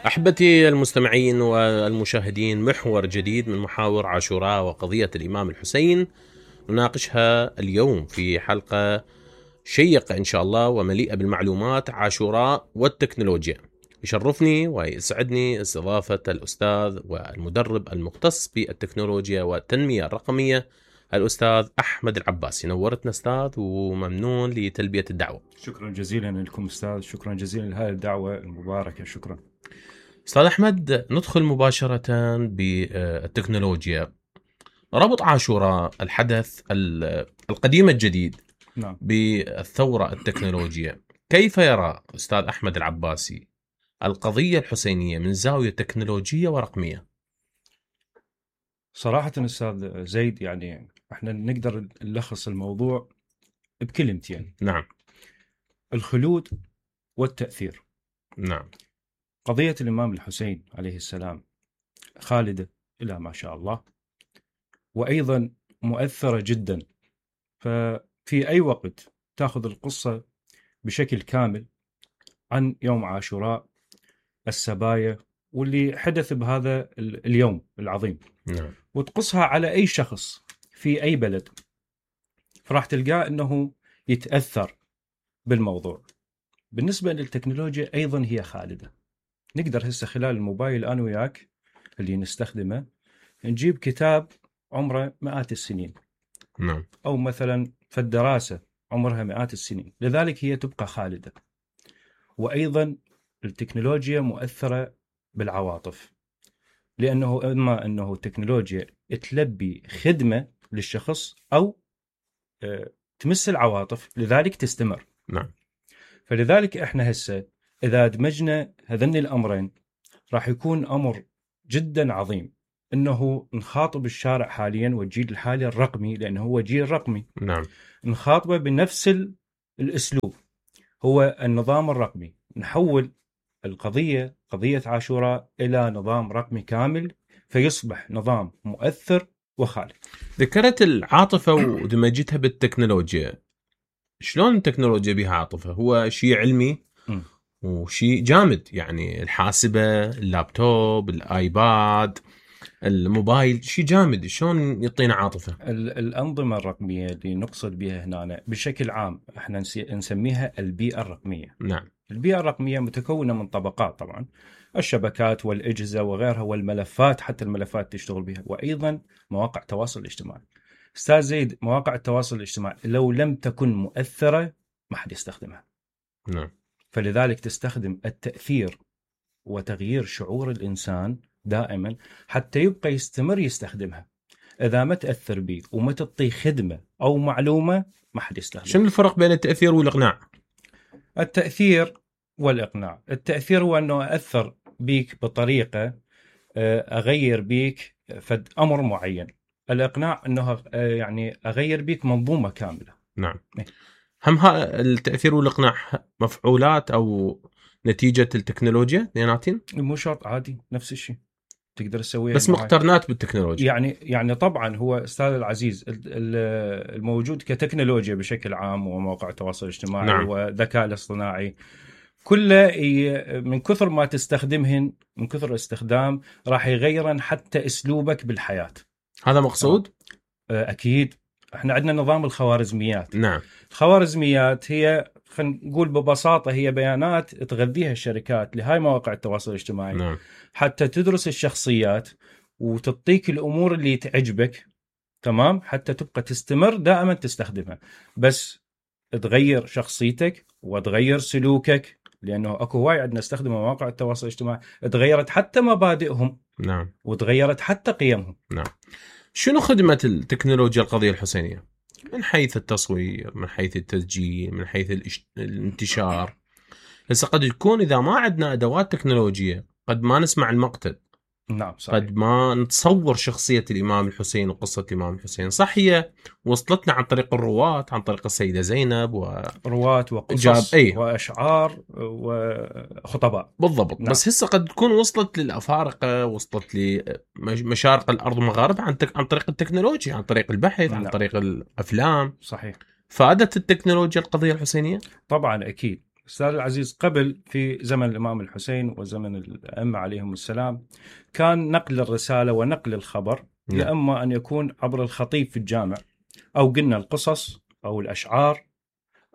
أحبتي المستمعين والمشاهدين، محور جديد من محاور عاشوراء وقضية الإمام الحسين نناقشها اليوم في حلقة شيقة إن شاء الله ومليئة بالمعلومات. عاشوراء والتكنولوجيا. يشرفني ويسعدني استضافة الأستاذ والمدرب المختص بالتكنولوجيا والتنمية الرقمية الأستاذ أحمد العباسي. نورتنا أستاذ وممنون لتلبية الدعوة. شكرا جزيلا لكم أستاذ، شكرا جزيلا لهذه الدعوة المباركة. شكرا أستاذ أحمد. ندخل مباشرة بالتكنولوجيا. ربط عاشوراء الحدث القديم الجديد نعم. بالثورة التكنولوجيا، كيف يرى أستاذ أحمد العباسي القضية الحسينية من زاوية تكنولوجية ورقمية؟ صراحة أستاذ زيد، يعني احنا نقدر نلخص الموضوع بكلمتين. نعم. الخلود والتأثير. نعم. قضية الإمام الحسين عليه السلام خالدة إلى ما شاء الله، وأيضا مؤثرة جدا. ففي أي وقت تأخذ القصة بشكل كامل عن يوم عاشوراء، السبايا واللي حدث بهذا اليوم العظيم، نعم. وتقصها على أي شخص في أي بلد، فراح تلقاه أنه يتأثر بالموضوع. بالنسبة للتكنولوجيا أيضا هي خالدة. نقدر هسه خلال الموبايل أنا وياك اللي نستخدمه نجيب كتاب عمره مئات السنين، نعم. أو مثلا في الدراسة عمرها مئات السنين، لذلك هي تبقى خالدة. وأيضا التكنولوجيا مؤثرة بالعواطف، لأنه إما أنه التكنولوجيا تلبي خدمة للشخص أو تمس العواطف، لذلك تستمر. نعم. فلذلك إحنا هسه إذا دمجنا هذين الأمرين راح يكون أمر جدا عظيم، أنه نخاطب الشارع حاليا والجيل الحالي الرقمي، لأنه هو جيل رقمي. نعم. نخاطبه بنفس الأسلوب، هو النظام الرقمي. نحول القضية، قضية عاشوراء، إلى نظام رقمي كامل، فيصبح نظام مؤثر وخالد. ذكرت العاطفة ودمجتها بالتكنولوجيا. شلون التكنولوجيا بها عاطفة؟ هو شيء علمي وشيء جامد، يعني الحاسبة، اللابتوب، الآيباد، الموبايل، شيء جامد. شلون يعطينا عاطفة؟ الأنظمة الرقمية اللي نقصد بها هنا بشكل عام احنا نسميها البيئة الرقمية. نعم. البيئة الرقمية متكونة من طبقات، طبعا الشبكات والأجهزة وغيرها، والملفات، حتى الملفات تشتغل بها، وأيضا مواقع التواصل الاجتماعي. أستاذ زيد، مواقع التواصل الاجتماعي لو لم تكن مؤثرة ما حد يستخدمها. نعم. فلذلك تستخدم التأثير وتغيير شعور الإنسان دائما حتى يبقى يستمر يستخدمها. إذا ما تأثر بيه وما تعطي خدمة أو معلومة ما حد يستخدمها. شنو الفرق بين التأثير والإقناع؟ التأثير والإقناع، التأثير هو أنه أثر بيك بطريقة أغير بيك فد أمر معين. الإقناع أنه يعني أغير بيك منظومة كاملة. نعم. هم التأثير والإقناع مفعولات أو نتيجة التكنولوجيا اثنيناتين؟ مو شرط، عادي نفس الشيء تقدر تسويها، بس مقترنات بالتكنولوجيا. يعني طبعا هو أستاذ العزيز الموجود كتكنولوجيا بشكل عام ومواقع التواصل الاجتماعي، نعم. والذكاء الاصطناعي، كله من كثر ما تستخدمهن، من كثر الاستخدام راح يغيرن حتى اسلوبك بالحياة. هذا مقصود؟ اكيد. احنا عندنا نظام الخوارزميات. نعم. الخوارزميات هي، خلينا نقول ببساطة، هي بيانات تغذيها الشركات لهاي مواقع التواصل الاجتماعي. نعم. حتى تدرس الشخصيات وتعطيك الامور اللي تعجبك، تمام، حتى تبقى تستمر دائما تستخدمها. بس تغير شخصيتك وتغير سلوكك، لأنه أكو هواي عندنا استخدم مواقع التواصل الاجتماعي تغيرت حتى مبادئهم. نعم. وتغيرت حتى قيمهم. نعم. شنو خدمة التكنولوجيا القضية الحسينية من حيث التصوير، من حيث التسجيل، من حيث الانتشار؟ هسه قد يكون إذا ما عندنا أدوات تكنولوجية قد ما نسمع المقتل. نعم صحيح. قد ما نتصور شخصية الإمام الحسين وقصة الإمام الحسين. صح، هي وصلتنا عن طريق الرواة، عن طريق السيدة زينب رواة وقصص وأشعار وخطباء. بالضبط. نعم. بس هسه قد تكون وصلت للأفارقة، وصلت لمشارق الأرض ومغاربها عن طريق التكنولوجيا، عن طريق البحث. نعم. عن طريق الأفلام. صحيح. فادت التكنولوجيا القضية الحسينية؟ طبعا أكيد. أستاذ العزيز، قبل في زمن الإمام الحسين وزمن الأئمة عليهم السلام كان نقل الرسالة ونقل الخبر يا إما أن يكون عبر الخطيب في الجامع، أو قلنا القصص أو الأشعار،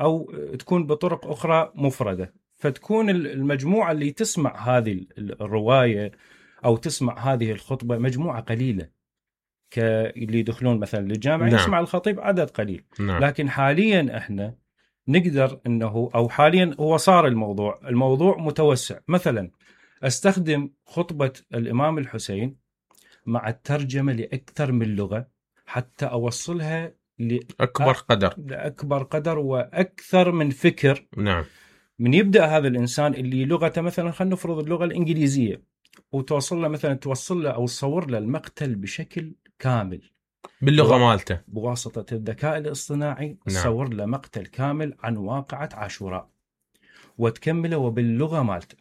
أو تكون بطرق أخرى مفردة، فتكون المجموعة اللي تسمع هذه الرواية أو تسمع هذه الخطبة مجموعة قليلة، اللي يدخلون مثلا للجامع يسمع الخطيب عدد قليل. لكن حاليا احنا نقدر انه، او حاليا هو صار الموضوع متوسع. مثلا استخدم خطبة الامام الحسين مع الترجمة لاكثر من لغة حتى اوصلها لأكبر قدر واكثر من فكر. نعم. من يبدأ هذا الانسان اللي لغته مثلا، خلينا نفرض اللغة الانجليزية، وتوصل له مثلا، توصل له او تصور له المقتل بشكل كامل باللغة مالته بواسطة الذكاء الاصطناعي. تصور له مقتل كامل عن واقعة عاشوراء وتكمله وباللغة مالته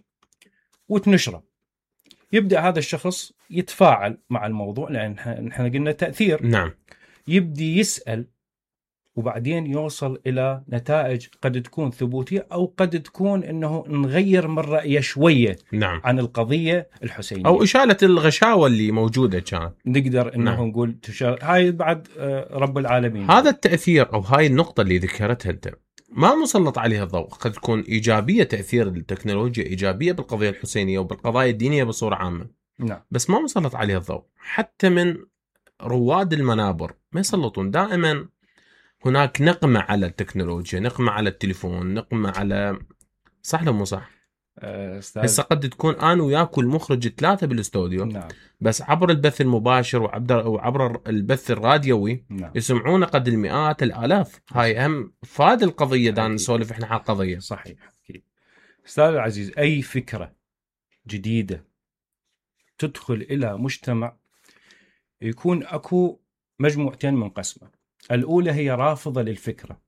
وتنشره. يبدأ هذا الشخص يتفاعل مع الموضوع، لأن نحن قلنا تأثير. نعم. يبدي يسأل، وبعدين يوصل إلى نتائج قد تكون ثبوتية أو قد تكون أنه نغير من رأيه شوية. نعم. عن القضية الحسينية أو إشالة الغشاوة اللي موجودة كانت، نقدر أنه نقول هاي بعد رب العالمين. هذا التأثير أو هاي النقطة اللي ذكرتها أنت ما مسلط عليها الضوء. قد تكون إيجابية، تأثير التكنولوجيا إيجابية بالقضية الحسينية وبالقضايا الدينية بصورة عامة. نعم. بس ما مسلط عليها الضوء. حتى من رواد المنابر ما يسلطون. دائما هناك نقمة على التكنولوجيا، نقمة على التليفون، نقمة على، صح لو مو صح؟ هسه قد تكون أنا وياك المخرج 3 بالاستوديو. نعم. بس عبر البث المباشر وعبر البث الراديوي. نعم. يسمعون قد المئات الآلاف. هاي أهم فاد القضية. دان نسولف إحنا على القضية. صحيح. أكيد. أستاذ العزيز، أي فكرة جديدة تدخل إلى مجتمع يكون أكو مجموعتين منقسمة. الأولى هي رافضة للفكرة،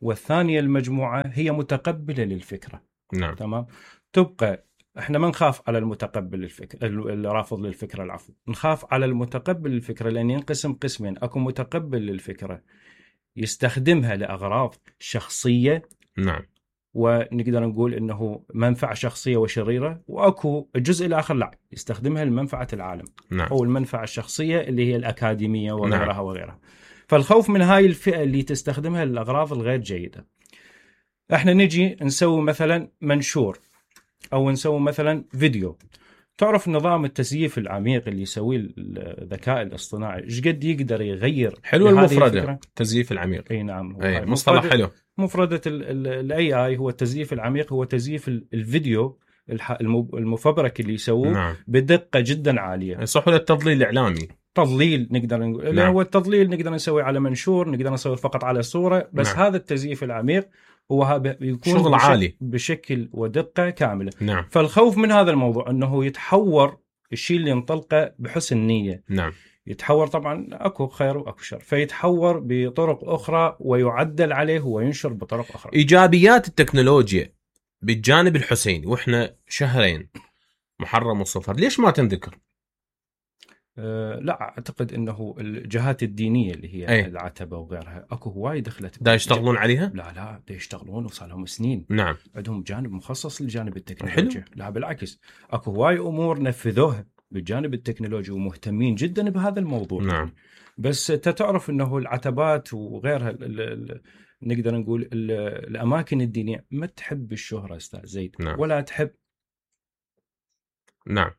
والثانية المجموعة هي متقبلة للفكرة. نعم. تمام. تبقى احنا ما نخاف على المتقبل للفكرة، الرافض للفكرة، العفو، نخاف على المتقبل للفكرة، لأن ينقسم قسمين. أكو متقبل للفكرة يستخدمها لأغراض شخصية. نعم. ونقدر نقول انه منفعة شخصية وشريرة، واكو الجزء الاخر لا، يستخدمها لمنفعة العالم. نعم. او المنفعة الشخصية اللي هي الأكاديمية وغيرها. نعم. وغيرها. فالخوف من هاي الفئة اللي تستخدمها للأغراض الغير جيدة. احنا نجي نسوي مثلا منشور او نسوي مثلا فيديو. تعرف نظام التزييف العميق اللي يسويه الذكاء الاصطناعي ايش قد يقدر يغير؟ حلو المفردة التزييف العميق. اي نعم. مصطلح حلو. مفردة الاي اي هو التزييف العميق، هو تزييف الفيديو المفبرك اللي يسووه. نعم. بدقة جدا عالية. يصح له التضليل الإعلامي. تضليل نقدر نقول. نعم. هو التضليل نقدر نسوي على منشور، نقدر نسوي فقط على صورة. بس نعم. هذا التزييف العميق هو يكون شغل عالي بشكل ودقة كاملة. نعم. فالخوف من هذا الموضوع أنه يتحور الشيء اللي ينطلقه بحسن نية. نعم. يتحور، طبعا أكو خير وأكو شر، فيتحور بطرق أخرى ويعدل عليه وينشر بطرق أخرى. إيجابيات التكنولوجيا بالجانب الحسيني وإحنا شهرين محرم وصفر، ليش ما تنذكر؟ لا أعتقد أنه الجهات الدينية اللي هي العتبة وغيرها أكو هواي دخلت. دا يشتغلون عليها؟ لا دا يشتغلون وصار لهم سنين. نعم. عندهم جانب مخصص للجانب التكنولوجي. لا بالعكس، أكو هواي أمور نفذوها بالجانب التكنولوجي ومهتمين جدا بهذا الموضوع. نعم. بس تعرف أنه العتبات وغيرها نقدر نقول الأماكن الدينية ما تحب الشهرة أستاذ زيد. نعم. ولا تحب. نعم.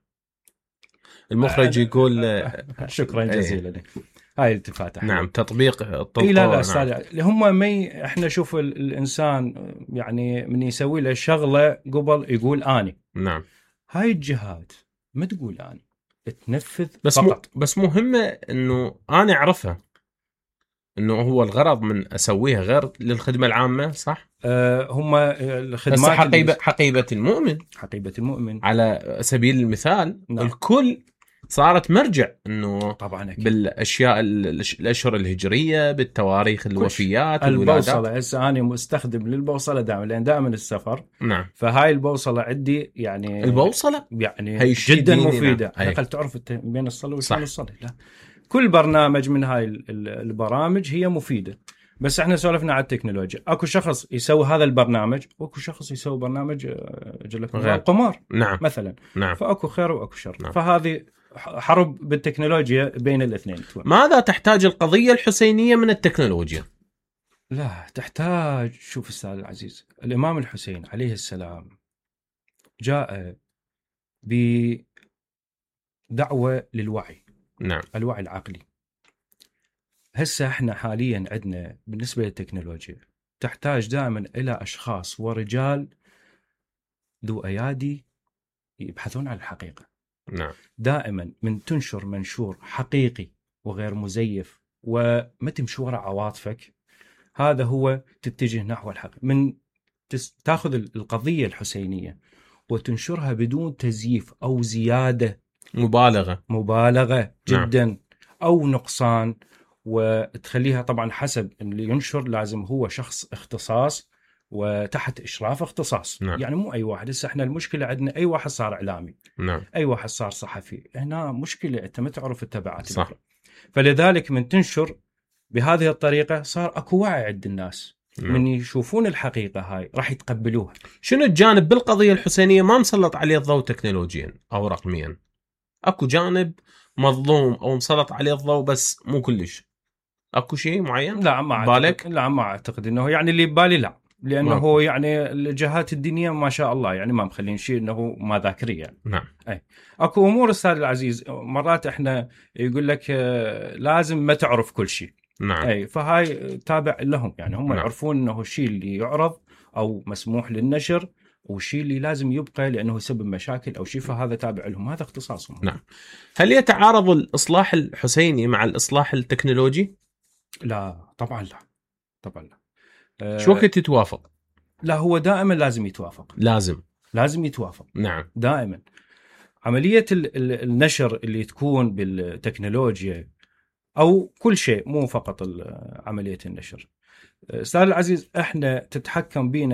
المخرج يقول شكرا جزيلا لك. هاي التفاتة. نعم. تطبيق الطلقة. لا أستاذ. هم احنا شوف الإنسان يعني من يسوي له شغلة قبل يقول آني. نعم. هاي الجهات ما تقول آني، تنفذ بس فقط. بس مهمة إنه أنا أعرفها إنه هو الغرض من أسويها غير للخدمة العامة. صح. هم الخدمات حقيبة المؤمن. حقيبة المؤمن على سبيل المثال. نعم. الكل صارت مرجع إنه طبعا أكيد. بالأشياء الأشهر الهجرية، بالتواريخ الوفيات، البوصلة. هسه أنا مستخدم للبوصلة دائما، لأن دائما السفر. نعم. فهاي البوصلة عندي يعني البوصلة يعني جدا مفيدة. نعم. أقل تعرف بين الصلاة والصلاة. لا، كل برنامج من هاي البرامج هي مفيدة. بس احنا سولفنا على التكنولوجيا. اكو شخص يسوي هذا البرنامج، واكو شخص يسوي برنامج القمار نعم مثلا. نعم. فاكو خير واكو شر. نعم. فهذه حرب بالتكنولوجيا بين الاثنين. ماذا تحتاج القضية الحسينية من التكنولوجيا؟ لا تحتاج. شوف أستاذ العزيز، الإمام الحسين عليه السلام جاء بدعوة للوعي. نعم. الوعي العقلي. هسه احنا حاليا عندنا بالنسبة للتكنولوجيا تحتاج دائما إلى أشخاص ورجال ذو أيادي يبحثون عن الحقيقة. نعم. دائما من تنشر منشور حقيقي وغير مزيف وما تمشي وراء عواطفك، هذا هو تتجه نحو الحق. من تاخذ القضية الحسينية وتنشرها بدون تزييف أو زيادة مبالغة جدا. نعم. أو نقصان، وتخليها طبعا حسب اللي ينشر لازم هو شخص اختصاص وتحت إشراف اختصاص. نعم. يعني مو أي واحد. هسه احنا المشكلة عندنا أي واحد صار إعلامي. نعم. أي واحد صار صحفي. هنا مشكلة أنت ما تعرف التبعات. صح. فلذلك من تنشر بهذه الطريقة صار أكو وعي عند الناس. نعم. من يشوفون الحقيقة هاي راح يتقبلوها. شنو الجانب بالقضية الحسينية ما مسلط عليه الضوء تكنولوجيا أو رقميا؟ أكو جانب مظلوم أو مسلط عليه الضوء بس مو كلش؟ أكو شيء معين؟ لا ما بالك؟ لا ما أعتقد إنه يعني اللي ببالي لا، لأنه يعني الجهات الدينية ما شاء الله يعني ما مخلين شيء إنه ما ذاكرية يعني. نعم. أي أكو أمور أستاذ العزيز مرات إحنا يقول لك لازم ما تعرف كل شيء. نعم. أي فهاي تابع لهم يعني هم. نعم. يعرفون إنه الشيء اللي يعرض أو مسموح للنشر والشيء اللي لازم يبقى لأنه يسبب مشاكل أو شيء، فهذا تابع لهم، هذا اختصاصهم. نعم. هل يتعارض الإصلاح الحسيني مع الإصلاح التكنولوجي؟ لا طبعا لا. طبعا لا. شو وقت يتوافق؟ لا هو دائما لازم يتوافق. لازم يتوافق. نعم. دائما. عملية النشر اللي تكون بالتكنولوجيا أو كل شيء، مو فقط عملية النشر. أستاذ العزيز احنا تتحكم بينا